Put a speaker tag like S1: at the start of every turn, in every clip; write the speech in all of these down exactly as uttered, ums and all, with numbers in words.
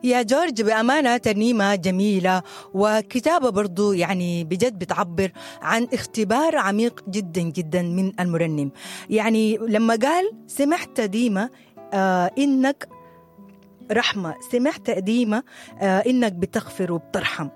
S1: يا جورج بأمانة ترنيمة جميلة وكتابة برضو يعني بجد بتعبر عن اختبار عميق جدا جدا من المرنم. يعني لما قال سمعت ديما آه إنك رحمة، سمعت ديما آه إنك بتغفر وبترحم،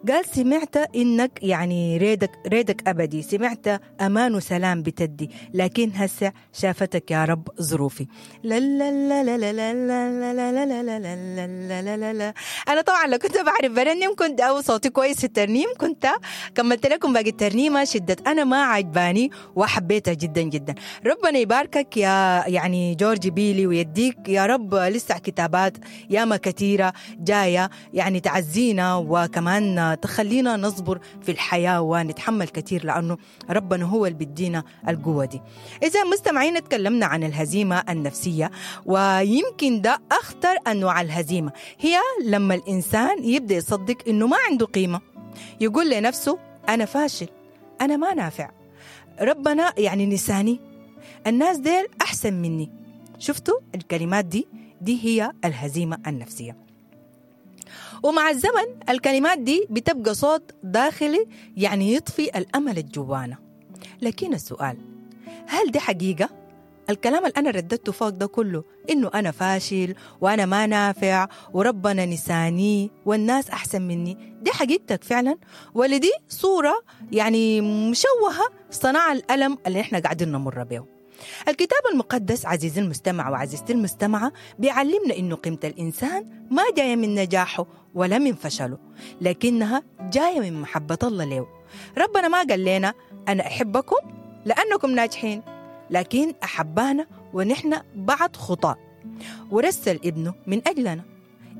S1: قال سمعت إنك يعني ريدك ريدك أبدي، سمعت أمان وسلام بتدي، لكن هسه شافتك يا رب ظروفي. لا لا لا لا لا لا لا لا لا لا لا لا لا لا لا. أنا طبعا لو كنت بعرف برنم كنت أو صوتي كويس في الترنيم كنت كملت لكم باقي الترنيمة. شدة أنا ما عجباني وحبيتها جدا جدا. ربنا يباركك يا يعني جورج بيلي ويديك يا رب لسه كتابات ياما كثيرة جاية يعني تعزينا وكمان تخلينا نصبر في الحياة ونتحمل كثير، لأنه ربنا هو اللي بيدينا القوة دي. إذا مستمعين تكلمنا عن الهزيمة النفسية، ويمكن ده أخطر أنواع الهزيمة، هي لما الإنسان يبدأ يصدق إنه ما عنده قيمة، يقول لنفسه أنا فاشل، أنا ما نافع، ربنا يعني نساني، الناس ديل أحسن مني. شفتوا الكلمات دي؟ دي هي الهزيمة النفسية. ومع الزمن الكلمات دي بتبقى صوت داخلي يعني يطفي الأمل الجوانا. لكن السؤال، هل دي حقيقة؟ الكلام اللي أنا رددته فوق ده كله إنه أنا فاشل وأنا ما نافع وربنا نساني والناس أحسن مني، دي حقيقتك فعلا ولا دي صورة يعني مشوهة صنع الألم اللي إحنا قاعدين نمر به؟ الكتاب المقدس عزيزي المستمع وعزيزتي المستمعة بيعلمنا إنه قيمة الإنسان ما جاية من نجاحه ولا من فشله، لكنها جاية من محبة الله له. ربنا ما قال لنا أنا أحبكم لأنكم ناجحين، لكن أحبانا ونحن بعض خطاء ورسل ابنه من أجلنا.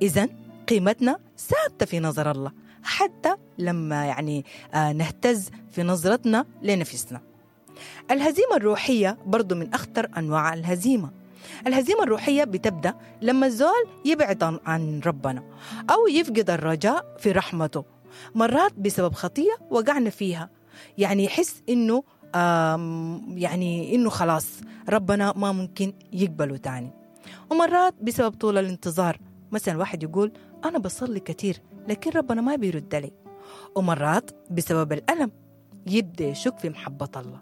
S1: إذن قيمتنا ثابتة في نظر الله حتى لما يعني نهتز في نظرتنا لنفسنا. الهزيمة الروحية برضو من أخطر أنواع الهزيمة. الهزيمة الروحية بتبدأ لما الزول يبعد عن ربنا أو يفقد الرجاء في رحمته، مرات بسبب خطية وقعنا فيها، يعني يحس إنه يعني إنه خلاص ربنا ما ممكن يقبله تاني. ومرات بسبب طول الانتظار، مثلا واحد يقول أنا بصلي كتير لكن ربنا ما بيرد لي. ومرات بسبب الألم يبدأ يشك في محبة الله.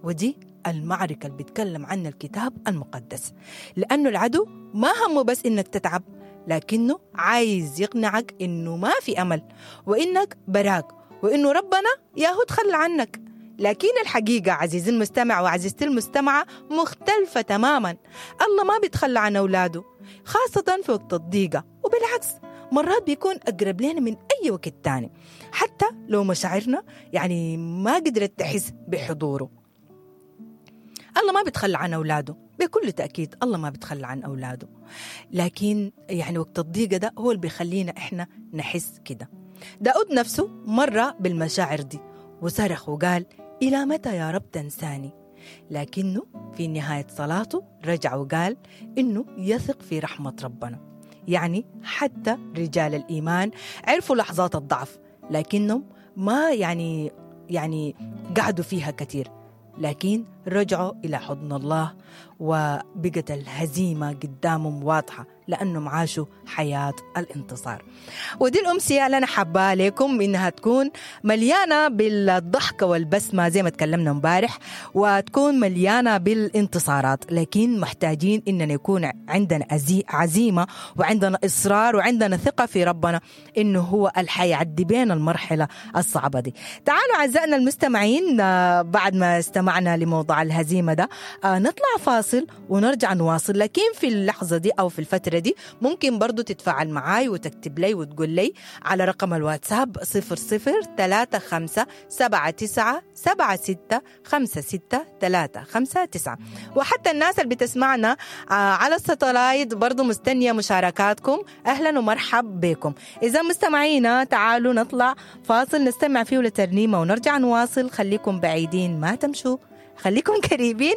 S1: ودي المعركة اللي بيتكلم عنها الكتاب المقدس، لأنه العدو ما همه بس إنك تتعب، لكنه عايز يقنعك إنه ما في أمل وإنك براك وإنه ربنا ياهو تخلى عنك. لكن الحقيقة عزيزي المستمع وعزيزتي المستمعة مختلفة تماما. الله ما بيتخلى عن أولاده، خاصة في وقت الضيقة، وبالعكس مرات بيكون أقرب لنا من أي وقت تاني، حتى لو مشاعرنا يعني ما قدرت تحس بحضوره. الله ما بيتخلى عن أولاده، بكل تأكيد الله ما بيتخلى عن أولاده، لكن يعني وقت الضيقة ده هو اللي بيخلينا إحنا نحس كده. داود نفسه مر بالمشاعر دي وصرخ وقال إلى متى يا رب تنساني؟ لكنه في نهاية صلاته رجع وقال إنه يثق في رحمة ربنا. يعني حتى رجال الإيمان عرفوا لحظات الضعف، لكنهم ما يعني يعني قعدوا فيها كثير، لكن رجعوا إلى حضن الله وبقت الهزيمة قدامهم واضحة لأنهم عاشوا حياة الانتصار. ودي الأمسية اللي أنا حابة لكم إنها تكون مليانة بالضحكة والبسمة زي ما تكلمنا امبارح، وتكون مليانة بالانتصارات، لكن محتاجين إننا يكون عندنا عزيمة وعندنا إصرار وعندنا ثقة في ربنا إنه هو الحي يعدي بين المرحلة الصعبة دي. تعالوا أعزائنا المستمعين، بعد ما استمعنا لموضوع الهزيمة ده نطلع فاصل ونرجع نواصل، لكن في اللحظة دي أو في الفترة دي ممكن برضو تتفاعل معاي وتكتب لي وتقول لي على رقم الواتساب صفر صفر ثلاثة خمسة سبعة تسعة سبعة ستة خمسة ستة ثلاثة خمسة تسعة. وحتى الناس اللي بتسمعنا على الستلايت برضو مستنية مشاركاتكم، أهلا ومرحب بكم. إذا مستمعينا تعالوا نطلع فاصل نستمع فيه لترنيمة ونرجع نواصل. خليكم بعيدين ما تمشوا، خليكم قريبين.